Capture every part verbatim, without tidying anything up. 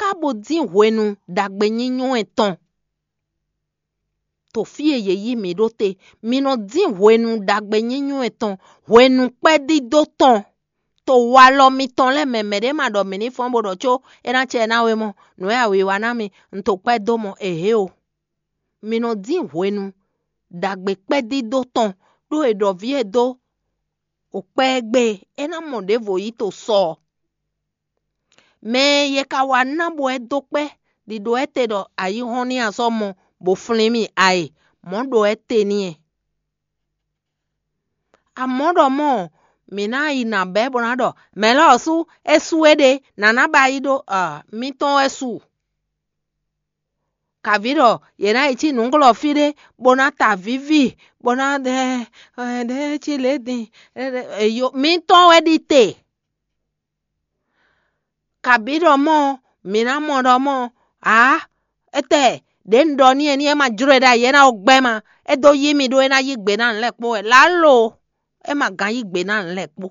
ká bo dín hwenu ɖagbe nyínyɔ́ ɛ tɔn. To fí e yě yí mǐ ɖó te, mi nɔ dín hwenu ɖagbe nyínyɔ́ ɛ tɔn, hwenu kpɛ́dídó tɔn. To walɔ mitɔn lɛ́ɛ mɛ mɛɖé ma ɖɔ mǐ ní fɔ́n bó ɖɔ có é ná cɛ ná we mɔ, nǔ e a wiwa ná mi, un to kpɛ́ dó mɔ, ehé o. Mi nɔ dín hwenu ɖagbe kpɛ́dídó tɔn, ɖó è ɖɔ vǐ e dó o kpɛ́ ɛ gbe é ná mɔ ɖěvo yí to sɔ ɔ́. Mɛ e yě ka wá ná bɔ é dó kpɛ́ ɖiɖo ɛ te ɖɔ ayihɔ́n ní a sɔ́ mɔ bó flín mì a e, mɔ̌ ɖo ɛ te n'i. Amɔ̌ ɖɔ mɔ̌, mǐ ná yi nǎ bɛ́ bó ná ɖɔ mɛ̌ lɔ ɔ́ sú é sú éɖée, nǎ ná ba yi ɖó mitɔ́n wɛ su. Kaví ɖɔ yě ná yi cí nǔglɔ́ fí ɖé bó ná ta vǐvi bó ná ɖe ɖe cí lě din. Mitɔ́n wɛ ɖi te. Kabǐ ɖɔ mɔ̌, mǐ ná mɔ ɖɔ mɔ̌, ǎ, étɛ́ ɖě un ɖɔ n'i é ní é ma jló e ɖ'ayǐ é ná ko gbɛ́ ma, é dó yí mì ɖó é ná yí gbe ná nǔ lɛ́ɛ kpó wɛ. Lǎlo, é ma gán yí gbe ná nǔ lɛ́ɛ kpó.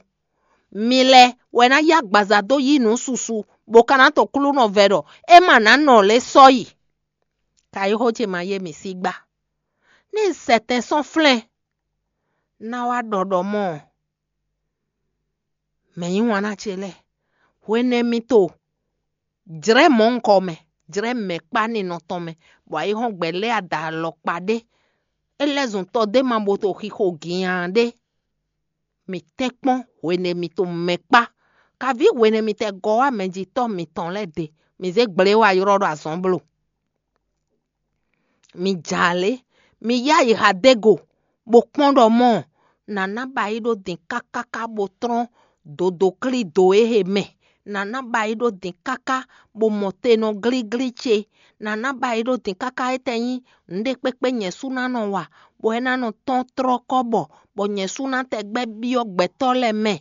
Mi lɛ́ɛ wɛ ná yí agbaza dó yí nǔ susu, bó ka ná to Klúnɔ vɛ ɖɔ é ma ná nɔ lě sɔ́ yi. Ka yí xó ce ma yé mǐ sí gbá. Ní sɛtɛn sɔ́ flɛ́n ná wá ɖɔ ɖɔ mɔ̌, mɛ̌ yí wǎn ná ce lɛ́ɛ, hwenɛ́ mi to jlɛ̌ mɔ̌hunkɔ mɛ, jlɛ̌ mɛ̌kpá ninɔ tɔn mɛ, bɔ ayihɔ́ngbe lɛ́ɛ ada alɔkpa ɖé. É lɛ́ zun tɔ d'é ma bo to xixo ginyaan ɖé. Mǐ tɛ́ kpɔ́n hwenɛ́ mi to mɛ̌kpá, kaví hwenɛ́ mi tɛ gɔ́ wá mɛjitɔ́ mitɔn lɛ́ɛ ɖe, mǐ zé gblě wá ylɔ́ ɖo azɔ̌ bló. Mi jǎ lě, mi yá yi Hadego, bó kpɔ́n ɖɔ mɔ̌, nǎ ná ba yi ɖó din káká bó tlɔ́n dǒdǒklído e he mɛ, nǎ ná ba yi ɖó din káká bó mɔ te nɔ glíglí ce, nǎ ná ba yi ɖó din káká é tɛ nyí nǔɖé kpékpé nyɛ sú ná nɔ wa, bɔ é ná nɔ tɔ́n tlɔ́ kɔ́ bɔ, bɔ nyɛ sú ná tɛgbɛ byɔ́ gbɛtɔ́ lɛ́ɛ mɛ.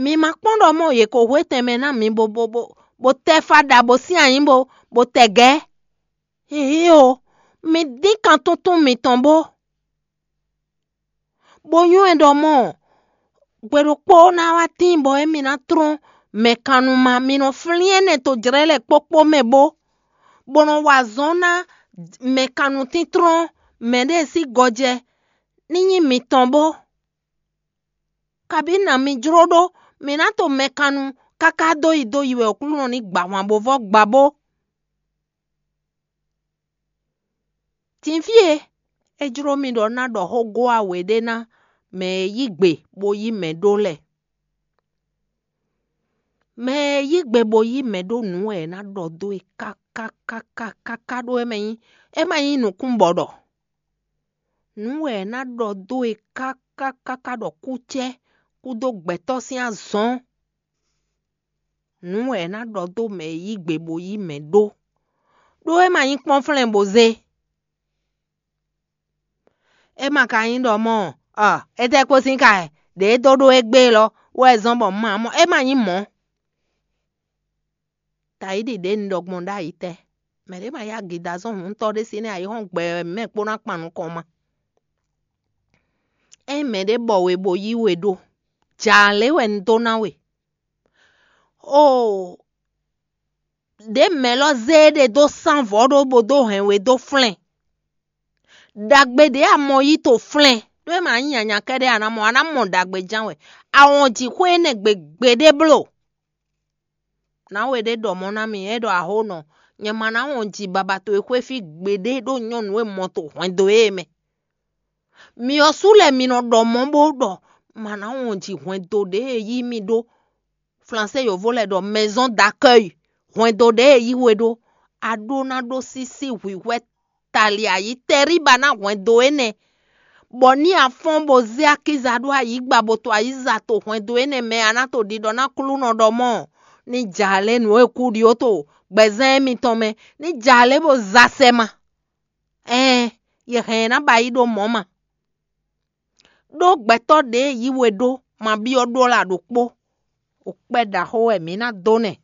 Mi ma kpɔ́n ɖɔ mɔ̌ yě ko hwe tɛnmɛ ná mi bo bo bo bo tɛ fa ɖa bo sín anyǐ bo bo tɛ gɛ̌. Hǐhí o, mi dín kan túntún mitɔn bó, bó nywɛ́ ɖɔ mɔ̌, gbe ɖokpó ná wá tíin bɔ émí ná tlɔ́n mɛkannumá, mi nɔ flín énɛ́ tojlɛ́ lɛ́ɛ kpókpó mɛ bó, bó nɔ wa azɔ̌ ná mɛkannutíntɔ́n mɛɖée sín gɔjɛ ní nyí mitɔn bó. Kabǐ nǎ mi jló ɖó mǐ ná to mɛkannu káká dó yi dó yi wɛ Aklúnɔ ní gba ahwan bo vɔ́ gba bó. Din fí e é jló mì ɖɔ ná ɖɔ xó gó a wě ɖé ná mɛ e yí gbe bó yí mɛ ɖó lɛ́ɛ. Mɛ e yí gbe bó yí mɛ ɖó nǔ wɛ è nǎ ɖɔ dó e káká káká káká ɖó é mɛ nyí, é ma nyí nǔkún bɔ ɖɔ. Nǔ wɛ è nǎ ɖɔ dó e káká káká ɖɔ kúcɛ́ kúdó gbɛtɔ́ sín azɔn. Nǔ wɛ è nǎ ɖɔ dó mɛ e yí gbe bó yí mɛ ɖó, ɖó é ma nyí kpɔ́nflɛ́n bó zé. É ma ka nyí ɖɔ mɔ̌ ɔ, étɛ́ kpó sín ka wɛ ɖě e dó ɖó égbé élɔ́ wɛ zɔ́n bɔ un ma mɔ, é ma nyí mɔ̌. Tayíɖi ɖě un ɖɔ gbɔn ɖ'ayǐ tɛ́, mɛ̌ ɖě ma yá gǐdá zɔn hǔntɔ́ ɖé sín nɛ́ ayǐhɔ́ngbe wɛ mɛ kpó ná kpan nukɔn ma. Ényí mɛɖé bɔ we bó yí we ɖó, jǎ lě wɛ un dó ná we. Oo, ɖě mɛ lɔ zé éɖée dó sán vɔ̌ ɖó bó dó hɛn we dó flɛ́n. Ɖagbe ɖě a mɔ yí to flɛ́n, ɖó é ma nyí nyanya kɛ́ɖɛ́ a nǎ mɔ, a nǎ mɔ ɖagbe ján wɛ. A wɔn jǐxwé énɛ́ gbe gbeɖé bló. Nǎwe ɖé ɖɔ mɔ̌ ná mì, é ɖɔ: Aho nɔ, nyɛ ma ná wɔn ji baba towe xwé fí gbeɖé ɖó nyɔ̌nu e mɔ to hwɛndo é mɛ. Myɔ sú lɛ́ɛ mi nɔ ɖɔ mɔ̌ bó ɖɔ ma ná wɔn ji hwɛndo ɖě e yí mì ɖó. Flansé yovo lɛ́ɛ ɖɔ maison d'accueil, hwɛndo ɖě e yí we ɖó. A ɖó ná ɖó sísí hwǐhwɛ́ tali ayǐ tɛríba ná hwɛndo énɛ́, bɔ ní a fɔ́n bó zé akíza ɖó ayǐgba bó to ayǐza to hwɛndo énɛ́ mɛ a ná to ɖiɖɔ ná Aklúnɔ ɖɔ mɔ̌, ní jǎ lě nǔ e kú ɖi ó to gbɛzán émítɔn mɛ, ní jǎ lě bó za sɛ ma. Ɛɛn, yě hɛn ɛ ná ba yí ɖó mɔ̌ ma. Ɖó gbɛtɔ́ ɖě yí we ɖó ma byɔ́ ɖó la ɖokpó. O kpɛ́ ɖaxó wɛ mǐ ná dó nɛ́.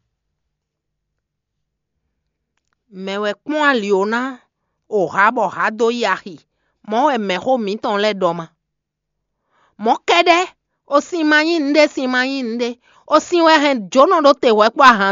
Mɛ̌ wɛ kpɔ́n ali ó ná, o hǎ bɔ hǎ dó yi axi? Mɔ̌ wɛ mɛ̌xó mǐtɔn lɛ́ɛ ɖɔ ma. Mɔ̌ kɛ́ɖɛ́, o sin ma nyí nǔɖé, sin ma nyí nǔɖé. O sin wɛ hɛn jǒnɔ ɖó te hwɛ̌ kpó ahan